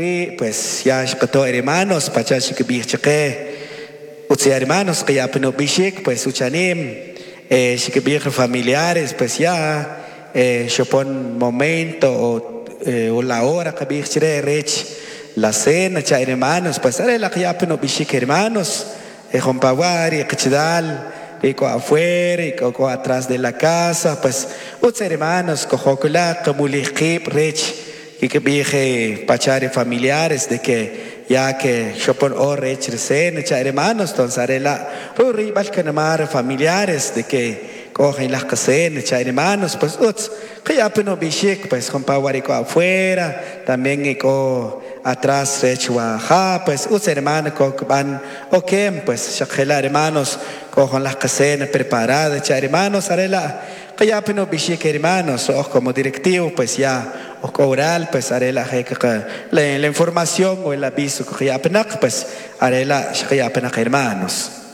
Ri' pues ya xqato hermanos pacha xikb'ij chaqe utz hermanos qaya pin ub'ixik pues uchanim xikb'ij familiares pues ya xopon momento o la hora qab'ij chire rech la cena cha hermanos pues are' la qaya pin ub'ixik hermanos jompa' wa ri qachalal ri k'o afuera y k'o atrás de la casa pues utz hermanos kojokla qamulij qiib' rech kikb'ij pacha ri familiares de que ya que xopon hora rech ri cena cha hermanos entonces are' la' rib'al kanimaj ri familiares de que k'o jun laj qacena cha hermanos pues utz qaya pin ub'ixik pues jompa' wa ri k'o afuera también k'o atrás rech wa ja pues utz hermano kb'an okem pues xaq jela' hermanos k'o jun laj qacena preparada cha hermanos are' la' qaya pin ub'ixik hermanos oj como directivo pues ya oj k'o oral pues are' la' je la información o el aviso qaya pinaq pues are' la' xqaya pinaq hermanos.